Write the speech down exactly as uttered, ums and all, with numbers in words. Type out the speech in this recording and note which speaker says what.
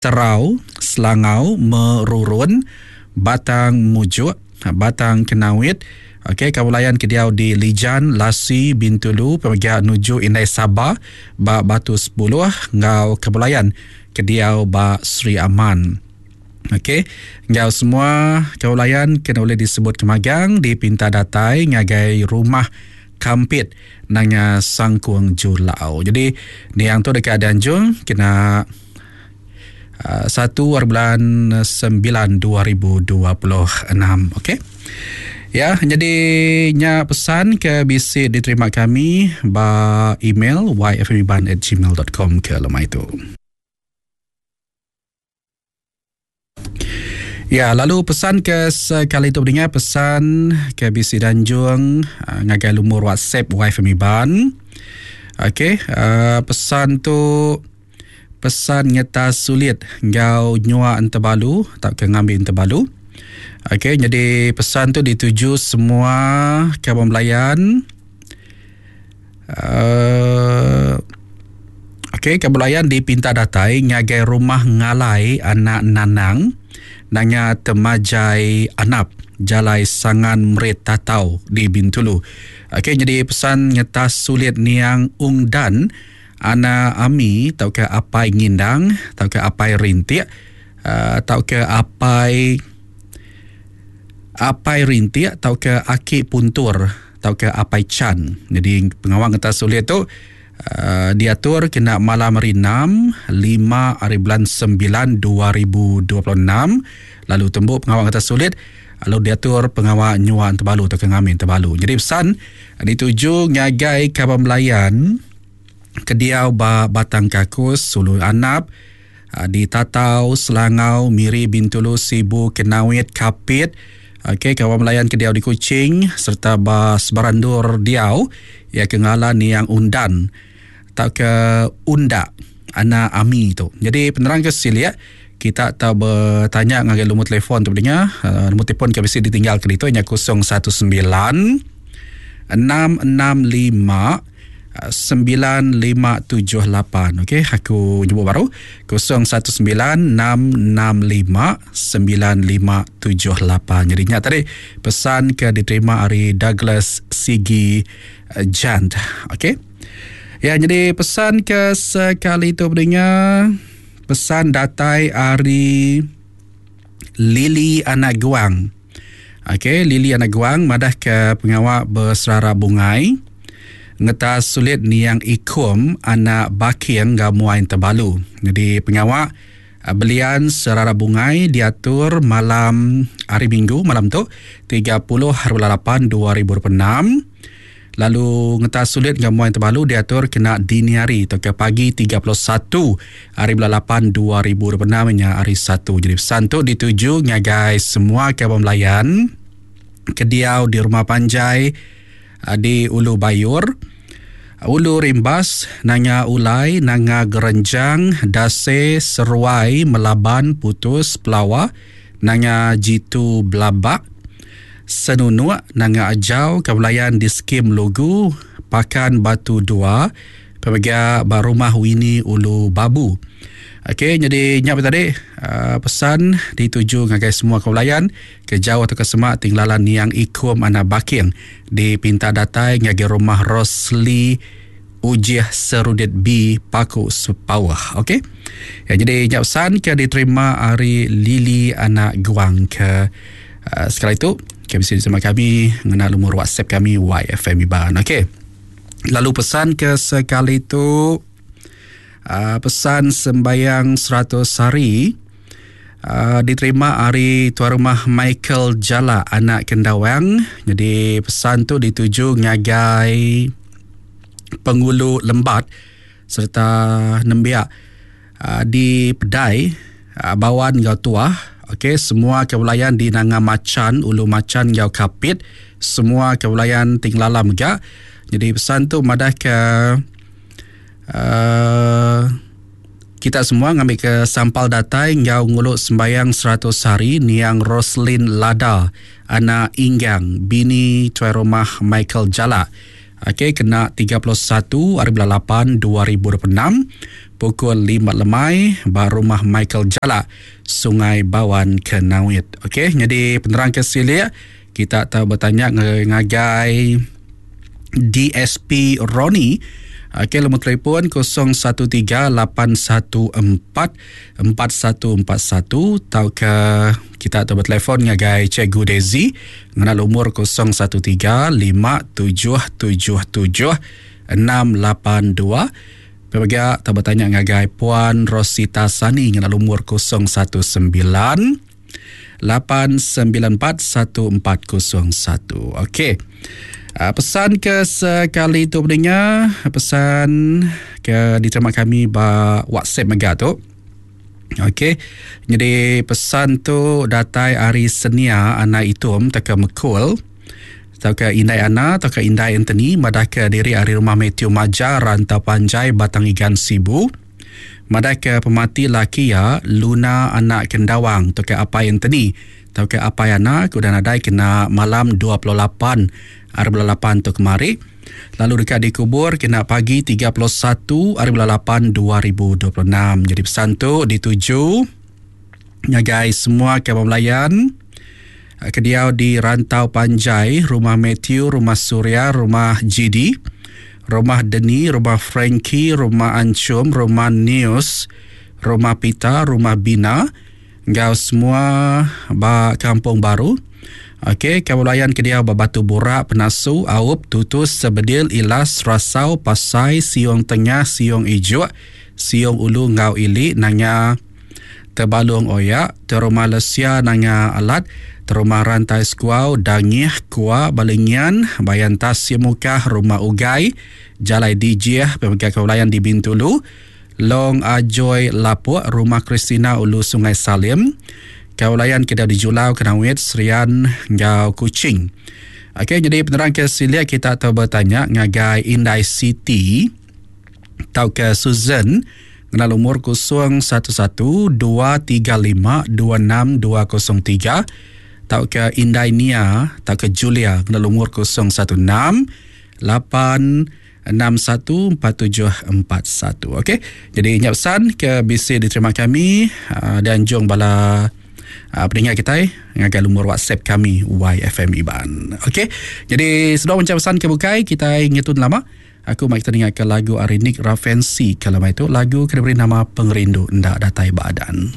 Speaker 1: Terau, Selangau, Merurun, Batang Mujuk, Batang Kenawit. Okey, kawan ke diau di Lijan, Lasi, Bintulu, pemega nuju Indai Saba ba Batu sepuluh ngau kebelayan ke diau ba Sri Aman. Okey, ngau semua kawan kena boleh disebut kemagang di Pinta Datai ngagai rumah Kampit nanga Sangkung Julau. Jadi niang tu dekat Danjung kena satu bulan sembilan dua ribu dua puluh enam. Okey. Ya, jadi nya pesan ke bisi diterima kami ba email y f m iban at gmail dot com ke lemai tu. Ya, lalu pesan ke sekali tu mendengar pesan ke bisi Danjung uh, ngagai lumur WhatsApp Y F M Iban. Okey, uh, pesan tu pesan nyata sulit ngau nyua entebalu tak ke ngambil entebalu. Okey, jadi pesan tu dituju semua kawan belayan. Uh, Okey, kawan belayan dipinta datai ngagai rumah ngalai anak nanang nanga Temajai Anap Jalai Sangan Merit Tatau di Bintulu. Okey, jadi pesan ngetas sulit niang ungdan ana ami tau ke apai ngindang tau ke apai rintik uh, tau ke apai apai rintik tau ke aki puntur tau ke apai chan. Jadi pengawang ngetas sulit tu uh, diatur kena malam hari enam lima hari bulan sembilan dua ribu dua puluh enam, lalu tembuk pengawang ngetas sulit lalu diatur pengawal nyuan terbalu atau ngamin terbalu. Jadi pesan dituju ngagai kawan belayan kediau ba Batang Kakus, Sulu Anap, di Tatau, Selangau, Miri, Bintulu, Sibu, Kenawit, Kapit. Okey, kawan belayan kediau di Kuching serta ba Sebarandur diau ya kengalan yang undan tak ke undak anak ami tu. Jadi penerang ke silia kita tak bertanya ngagai lumur telefon tu pendengar. Uh, lumur telefon ke mesti ditinggal ke itu hanya kosong satu sembilan enam enam lima sembilan lima tujuh lapan. Okey, aku nyebut baru kosong satu sembilan enam enam lima sembilan lima tujuh lapan. Jadi ingat tadi pesan ke diterima hari Douglas Sigi Jant. Okey. Ya, jadi pesan ke sekali tu pendengar, pesan datai hari Lili Anak Guang. Okey, Lili Anak Guang madah ke pengawak berserara bungai ngetas sulit niang ikum anak baking gamuain terbalu. Jadi pengawak belian serara bungai diatur malam hari Minggu malam tu tiga puluh hari bulan lapan dua ribu dua puluh enam. Lalu ngetas sulit gamuain terbalu diatur kena dini hari atau ke pagi tiga puluh satu hari bulan lapan dua ribu dua puluh enam nya hari satu. Jadi pesan tu dituju ngagai semua kawan belayan kediau di rumah panjai di Ulu Bayur, Ulu Rimbas, Nanga Ulai, Nanga Gerenjang, Dase, Seruai, Melaban, Putus, Pelawa, Nanga Jitu Belabak, Senunuk, Nanga Ajau, Kabelayan di Skim Lugu, Pakan Batu Dua, Pemega Barumah Wini Ulu Babu. Okey, jadi nyap tadi uh, pesan dituju ngagai semua kaulayan ke jauh atau ke semak tinggalan niang ikum anak baking di Pinta Datai ngagai rumah Rosli Ujiah Serudit B Paku Sepawah. Okey. Ya, jadi nyap pesan ke diterima hari Lili Anak Guang ke uh, sekali itu ke bisa sama kami mengenal nomor WhatsApp kami Y F M Iban. Okey. Lalu pesan ke sekali itu Uh, pesan sembayang seratus hari uh, diterima hari tuan rumah Michael Jala anak Kendawang. Jadi pesan tu dituju ngagai Pengulu Lembat serta nembiak uh, di Pedai uh, Bawan Gau Tuah. Okey, semua kebelayan di Nanga Macan, Ulu Macan Gau Kapit, semua kebelayan Tinglalam ga. Jadi pesan tu madah ke Uh, kita semua ngambil ke sampal datai ngau nguluk sembayang seratus hari niang Roslin Lada anak Inggang bini tuan rumah Michael Jala. Okey, kena tiga puluh satu hari bulan lapan dua ribu dua puluh enam pukul lima lemai ba rumah Michael Jalak, Sungai Bawan, Kenawit. Okey, jadi penerang ke silik kita tahu bertanya ngagai D S P Roni. Okey, nombor telefon kosong satu tiga lapan satu empat empat satu empat satu atau ke kita tahu bertelefon ngagai Cikgu Daisy dengan nombor kosong satu tiga lima tujuh tujuh tujuh enam lapan dua. Pemegang tak bertanya ngagai Puan Rosita Sani dengan nombor kosong satu sembilan lapan sembilan empat satu empat kosong satu. Okey. Uh, pesan ke sekali tu pendengar, pesan ke diterima kami ba WhatsApp mega tu. Okey. Jadi pesan tu datai hari Senia anak itum teka mekul. Tauka Indai Ana tauka Indai Anthony madah ke diri hari rumah Matthew Maja Rantau Panjai Batang Igan Sibu. Madah ke pemati laki ya Luna anak Kendawang tauka Apai Anthony tauka Apai Ana kuda nadai kena malam dua puluh lapan hari bulan lapan tu kemari. Lalu dekat dikubur kena pagi tiga puluh satu hari bulan lapan dua ribu dua puluh enam. Jadi pesan tu dituju ngagai semua kawan melayan kediau di Rantau Panjai, rumah Matthew, rumah Surya, rumah G D, rumah Deni, rumah Frankie, rumah Ancum, rumah News, rumah Pita, rumah Bina, ngau semua ba Kampung Baru. Okey, kawan kediau Batu Burak, Penasu, Aup, Tutus, Sebedil, Ilas, Rasau, Pasai, Siong Tengah, Siong Ijuk, Siong Ulu, Ngau Ili, Nanga Tebalung Oyak, Terumah Lesia, Nanga Alat, Terumah Rantai Sekuau, Dangih, Kuah, Balingian, Bayan Tas, Siemukah, Rumah Ugai, Jalai Dijih, Pemegang Kawalan di Bintulu, Long Ajoy Lapuk, Rumah Kristina Ulu Sungai Salim, Kaulayan kita di Julau, Kenawit, Serian, Ngau Kuching. Okey, jadi penerang ke silia kita tahu bertanya ngagai Indai City tau ke Susan dengan umur kosong satu satu dua tiga lima dua enam dua kosong tiga tau ke Indai Nia tau ke Julia dengan umur kosong satu enam lapan enam satu empat tujuh empat satu. Okey, jadi ingat pesan ke B C diterima kami dan jom bala Uh, pendengar kita eh, ngagai lumur WhatsApp kami Y F M Iban. Okey. Jadi sebelum mencari pesan ke bukai kita ingatun lama. Aku mai kita dengar ke lagu Arinik Rafensi kalau itu lagu kena beri nama Pengerindu Ndak Datai Badan.